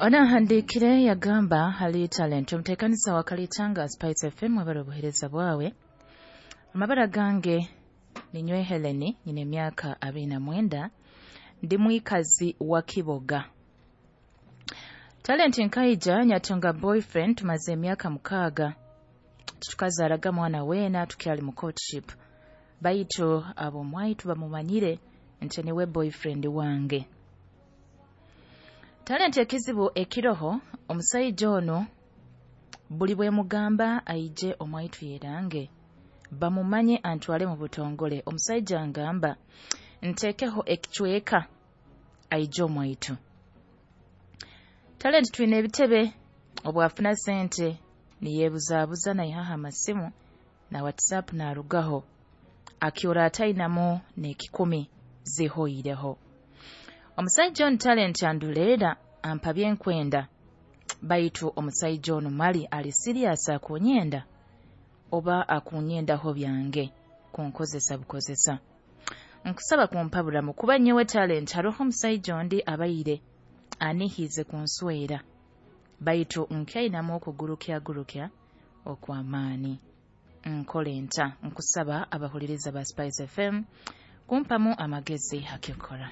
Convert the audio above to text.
Onahandiikire yagamba, "Hali Talent, omuteekaniza wa Kalitanga Spice FM, webale obuheereza bwawe. Amabara gange ninywe Heleni, nyine emyaka 29, ndi mwikazi wa Kiboga. Talent, nkaija nyatunga boyfriend, tumaze emyaka 6, tukazaaraga mwana weena, tukyali mu courtship, baitu ab'omwaitu bamumanyire nti niwe boyfriend wange. Talent, ekizibu ekiroho, omusaija ono buli bwemugamba aije omwaitu yerange bamumanye antwale mu butongole, omusaija ngamba ntekeho ekicweka aije omwaitu. Talent, twine ebitebe, obwafuna sente niyeebuzaabuza, naihaho amasimu na WhatsApp naarugaho, akyora atainamu n'ekikumi, zihoireho. Omusaija onu Talent anduleera, ampa byenkwenda, baitu omusaija onu mali ali serious akunyenda oba akunyendaho byange kunkozesa bukozesa? Nkusaba kumpaburamu, kuba nyowe Talent haroho omusaija ondi abaire anihize kunswera, baitu nkyainamu okugurukyagurukya okw'amaani. Nkole nta? Nkusaba abahuliriza ba Spice FM kumpamu amagezi hakyokora."